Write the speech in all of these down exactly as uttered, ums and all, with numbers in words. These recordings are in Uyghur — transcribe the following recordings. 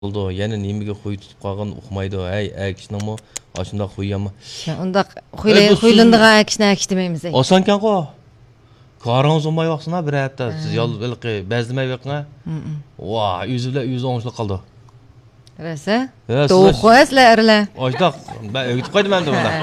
بولىدۇ. يەنە نېمىگە خۇي تۇتۇپ قالغىنىنى ئۇقمايدۇ. ھەي، ئەر كىشىنىڭمۇ ئاشۇنداق خۇيى يامان. شۇ، ئۇنداق خۇيلە-، ئەي، بۇ خۇيلىنىدىغان ئەر كىشىنى ئەر كىشى دېمەيمىز، ئەي. ئاسانكەنغۇ. كارىڭىز بولماي باقسىنا، بىر ھەپتە سىز يال ھېلىقى بەزلىمەي بېقىڭە. ۋا، ئۆزى بىلەن ئۆزى ئوڭشىلىپ قالىدۇ. رەسە؟ ھە، توۋا سىلەر قويە سىلەر ئەرلەر. ئاشۇنداق، مەن ئۆگىتىپ قويدۇم ئەمدى بۇنى. ھە.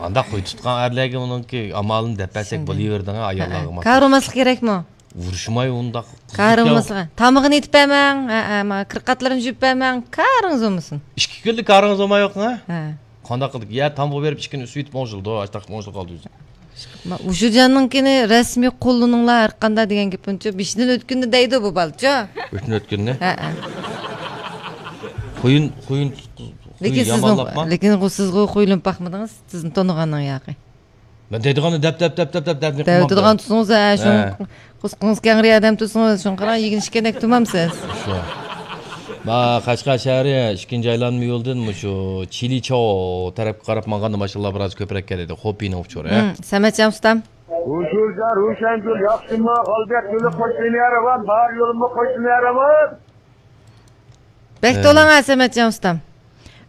ئانداق خۇي تۇتقان ئەرلەرگە ئۇنىڭكى ئامالىنى دەپ بەرسەك بولۇۋېرىدىغان ئاياللارغا. كارىماسلىق كېرەكمۇ؟ ئۇرۇشماي ئۇنداق. كارىماسلىق. تامىقىنى ئېتىپ بەرمەڭ. ھە، ھە، ما، كىرقاتلىرىنى يۇيۇپ بەرمەڭ. كارىڭىز بولمىسۇن. ئىككى كۈنلۈك كارىڭىز بولماي يوقمۇ؟ ھە. قانداق قىلدۇق؟ يا تامغا بېرىپ ئىككى كۈن ئۈستى يېتىپ ئوڭشىلىدۇ، ئاشتاق ئوڭشىلىپ قالدى ئۆزى. ما، ئۇشۇرجاننىڭكىنى رەسمىي قوللىنىڭلار ھەر قانداق دېگەن گېپىمچۇ، بېشىدىن ئۆتكىنىنى دەيدۇ بۇ بالىچۇ. بېشىدىن ئۆتكىنىنى؟ ھە، ھە. خۇيۇن، خۇيۇن، خۇيۇن لېكىن سىزنىڭ، يامانلاپما؟ لېكىن سىزغۇ خۇيلىنىپ باقمىدىڭىز، سىزنى تونۇغاننىڭ ياقى. مەن دەيدىغاننى دەپ، دەپ، دەپ، دەپ، دەپ، دەپ، دەپ دەۋېتىدىغان تۇتسىڭىز، ھە، شۇ ھە. قورسىقىڭىز كەڭرى ئادەم تۇتسىڭىز، شۇڭا قاراڭ، يېگىنىشكەندەك تۇرمامسىز؟ شۇ. ما، قەشقەر شەھىرى ئىككىنچى ئايلانما يولىدىن مۇشۇ چىلىچاۋ تەرەپكە قاراپ ماڭغاندا ماشىنىلار بىراز كۆپرەك كېلىدۇ. خوپىنىڭ ئۇچۇرى، ھە؟ ھىم، سەمەتجان ئۇستام. ھۇشۇرجان، روشەنگۈل، ياخشىمۇ؟ غالىبىيەت يولى قوشنا يارىمان، بار يولۇممۇ قوشنا يارىمان. بەك ھە. تولاڭ ھە، سەمەتجان ئۇستام.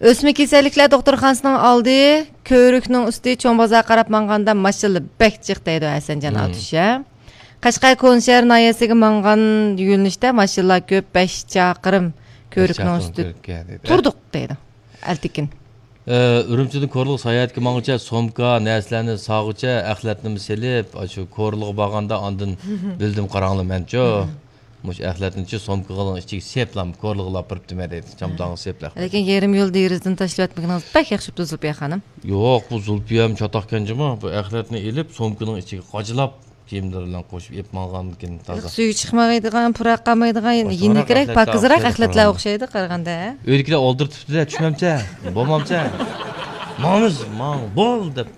ئۆسمە كېسەللىكلەر دوختۇرخانىسىنىڭ ئالدى، كۆۋرۈكنىڭ ئۈستى، چوڭ بازار قاراپ ماڭغاندا ماشىنىلار بەك جىق دەيدۇ ھەسەنجان ئاتۇش، ھە. قەشقەر كونىشەھەر ناھىيەسىگە ماڭغان يۆنىلىشتە ماشىنىلار كۆپ، بەش چاقىرىم كۆۋرۈكنىڭ ئۈستى تۇردۇق دەيدۇ ئەلتىكىن. ئە، ئۈرۈمچىدىن كورلىغا ساياھەتكە ماڭغۇچە سومكا، نەرسىلەرنى ساغۇچە ئەخلەتنىمۇ سېلىپ، ئاشۇ كورلىغا بارغاندا ئاندىن بىلدىم قاراڭلار مەنچۇ. مۇشۇ ئەخلەتنىچۇ سومكىغا ئىچىگە سېپلام، كورلىغا ئاپىرىپ دېمە دەيدۇ. چامداڭغا سېپلە. لېكىن يېرىم يول دېرىزىدىن تاشلىۋەتمىگىنىڭىز بەك ياخشى بوپتۇ، زۇلپىيە خانىم. يوق، بۇ زۇلپىيەم چاتاقكەن جۇمۇ. بۇ ئەخلەتنى ئېلىپ، سومكىنىڭ ئىچىگە قاچىلاپ، كىيىملىرى بىلەن قوشۇپ ئېلىپ ماڭغانكىن تازا. سۈيى چىقمايدىغان، پۇراق قالمايدىغان، يېنىكرەك، پاكىزراق ئەخلەتلەر ئوخشايدۇ قارىغاندا. ئۆيدىكىلەر ئالدىرىتىپتۇ-دە، چۈشمەمچە، بولمامچە. ماڭىمىز، ماڭ، بول دەپ.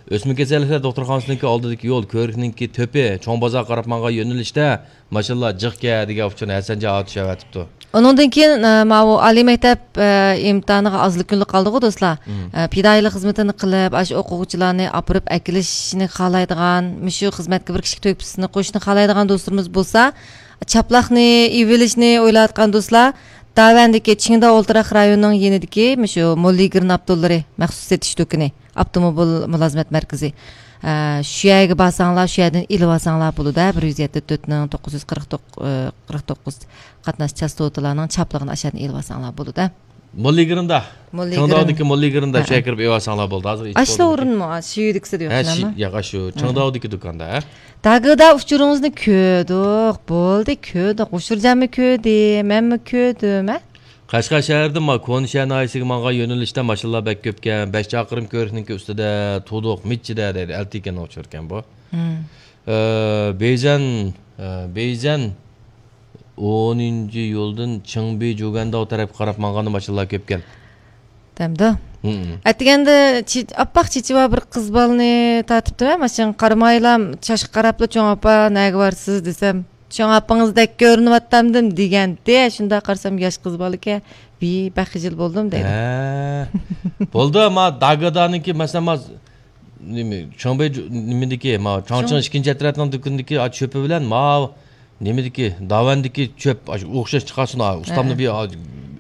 ئۆسمە كېسەللىكلەر دوختۇرخانىسىنىڭكى ئالدىدىكى يول، كۆۋرۈكنىڭكى تۆپى، چوڭ بازار قاراپ ماڭغان يۆنىلىشتە ماشىنىلار جىقكەن دېگەن ئۇچۇرنى ھەسەنجان ئاتۇش ئەۋەتىپتۇ. ئۇنىڭدىن كېيىن، ئە، ماۋۇ ئالىي مەكتەپ، ئە، ئىمتىھانىغا ئازلا كۈنلا قالدىغۇ، دوستلار. مم. ئە، پىدائىيلىق خىزمىتىنى قىلىپ، ئاشۇ ئوقۇغۇچىلارنى ئاپىرىپ ئەكېلىشنى خالايدىغان، مۇشۇ خىزمەتكە بىر كىشىلىك تۆھپىسىنى قوشۇشنى خالايدىغان دوستلىرىمىز بولسا، چاپلاقنى ئېلىۋېلىشنى ئويلاۋاتقان دوستلار، داۋەندىكى چىڭداۋ ئولتۇراق رايونىنىڭ يېنىدىكى مۇشۇ موللىگىرىن ئاپتوللىرى مەخسۇس سېتىش دۇكىنى، ئاپتوموبىل مۇلازىمەت مەركىزى. ئە، شۇ يەرگە بارساڭلار، شۇ يەردىن ئېلىۋالساڭلار بولىدۇ، بىر يۈز يەتتە تۆتنىڭ توققۇز يۈز قىرىق توققۇز، ئە، قىرىق توققۇز قاتناش چاستوتىلارنىڭ چاپلىقىنى ئاشۇ يەردىن ئېلىۋالساڭلار بولىدۇ. موللىگىرىندا. موللىگىرىن. چىڭداۋدىكى موللىگىرىندا ھە، شۇ يەرگە كىرىپ ئېلىۋالساڭلار بولدى. ھازىر ئاشۇ ئورۇنمۇ؟ شۇ يېرىدىكىسى دە يوق، ھە، شۇ، ياق، ئاشۇ چىڭداۋدىكى دۇكاندا، ھە. داگىدا ئۇچۇرىڭىزنى كۆردۇق، بولدى، كۆردۇق. ئۇشۇرجانمۇ كۆردى، مەنمۇ كۆردۈم، ھە؟ قەشقەر شەھىرىدىن ما كونا شەھەر ناھىيەسىگە ماڭغان يۆنىلىشتە ماشىنىلار بەك كۆپكەن، بەش چاقىرىم كۆۋرۈكنىڭكى ئۈستىدە تۇردۇق، مىچچىدە دەيدۇ، ئەلتىكەن ئۇچۇركەن بۇ. مم. ئە، بېيزەن، ئە، بېيزەن ئونىنچى يولدىن چىڭبى جۇگەنداۋ تەرەپكە قاراپ ماڭغاندا ماشىنىلار كۆپكەن. دەمدۇ. مم. ئەتىگەندە چې-، ئاپئاق چېچى بار بىر قىز بالىنى تارتىپتىمەن، ماشىنىغا قارىمايلا، چاشقا قاراپلا، چوڭ ئاپا، نەگە بارسىز دېسەم، چوڭ ئاپىڭىزدەك كۆرۈنۈۋاتامدىم دېگەنتى. شۇنداق قارىسام، ياش قىز بالىكەن. ۋىي، بەك خىجىل بولدۇم دەيدۇ. ھە. بولدى، ما داگادانىڭكى، مەسىلەن، ما نېمە، چاڭبەي جۇ-، نېمىدىكى، ما چاڭچىڭ ئىككىنچى ئەترەتنىڭ دۇكىنىدىكى، ئا، چۆپى بىلەن ما نېمىدىكى، داۋەندىكى چۆپ، ئاشۇ ئوخشاش چىقارسۇن، ئا، ئۇستامنى ھە. بىر، ئا،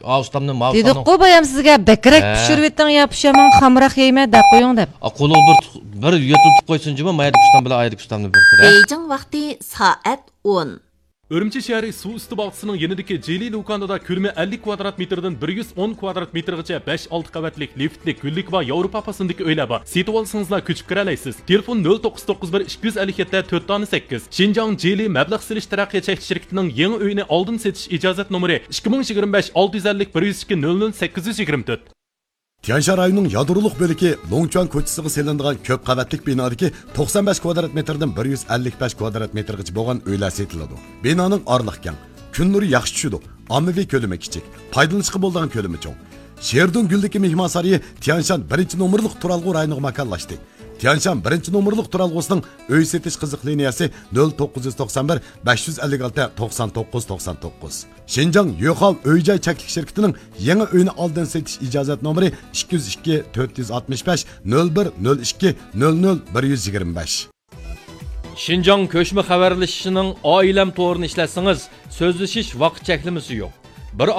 ئا، ئۇستامنى ما ئۇستامنى. دېدۇققۇ بايام سىزگە، بەكرەك ھە. پىشۇرۇۋېتىڭ يا، پۇشايمان خامراق يەيمەن دەپ قويۇڭ دەپ. ئا، قولىغا بىر، بىر يۆتۈلتۈپ قويسۇن جۇمۇ، ما يەردىكى ئۇستام بىلەن ئا يەردىكى ئۇستامنى بىر، بىر، ھە. بېيجىڭ ۋاقتى سائەت ئون. ئۈرۈمچى شەھىرى سۇ ئۈستى باغچىسىنىڭ يېنىدىكى جىلى لۇكانىدا كۆلىمى ئەللىك كۋادرات مېتىردىن بىر يۈز ئون كۋادرات مېتىرغىچە بەش، ئالتە قەۋەتلىك لىفتلىك، گۈللۈك ۋە ياۋروپا پاسوندىكى ئۆيلەر بار. سېتىۋالسىڭىزلا كۆچۈپ كىرەلەيسىز. تېلېفون: نۆل توققۇز توققۇز بىر ئىككى يۈز ئەللىك يەتتە تۆت دانە سەككىز. شىنجاڭ جىلى مەبلەغ سېلىش تەرەققىيات چەكلىك شىركىتىنىڭ يېڭى ئۆيىنى ئالدىن سېتىش ئىجازەت نومۇرى: ئىككى مىڭ يىگىرمە بەش، ئالتە يۈز ئەللىك، بىر يۈز ئىككى، نۆل نۆل، سەككىز يۈز يىگىرمە تۆت. تيەنشان رايونىنىڭ يادرولۇق بۆلىكى لوڭچۈەن كوچىسىغا سېلىنىدىغان كۆپ قەۋەتلىك بىنادىكى توقسان بەش كۋادرات مېتىردىن بىر يۈز ئەللىك بەش كۋادرات مېتىرغىچە بولغان ئۆيلەر سېتىلىدۇ. بىنانىڭ ئارىلىقى كەڭ، كۈن نۇرى ياخشى چۈشىدۇ، ئاممىۋى كۆلىمى كىچىك، پايدىلىنىشقا بولىدىغان كۆلىمى چوڭ. شېردۇڭ گۈلدىكى مېھمانسارىيى تيەنشان بىرىنچى نومۇرلۇق تۇرالغۇ رايونىغا ماكانلاشتى. تيەنشان بىرىنچى نومۇرلۇق تۇرالغۇسىنىڭ ئۆي سېتىش قىزىق لىنىيەسى: نۆل توققۇز يۈز توقسان بىر، بەش يۈز ئەللىك ئالتە، توقسان توققۇز، توقسان توققۇز. شىنجاڭ يۆخاۋ ئۆي جاي چەكلىك شىركىتىنىڭ يېڭى ئۆينى ئالدىن سېتىش ئىجازەت نومۇرى: ئىككى يۈز ئىككى، تۆت يۈز ئاتمىش بەش، نۆل بىر، نۆل ئىككى، نۆل نۆل، بىر يۈز يىگىرمە بەش. شىنجاڭ كۆچمە خەۋەرلىشىشىنىڭ ئائىلەم تورىنى ئىشلەتسىڭىز، سۆزلىشىش ۋاقىت چەكلىمىسى يوق. بىر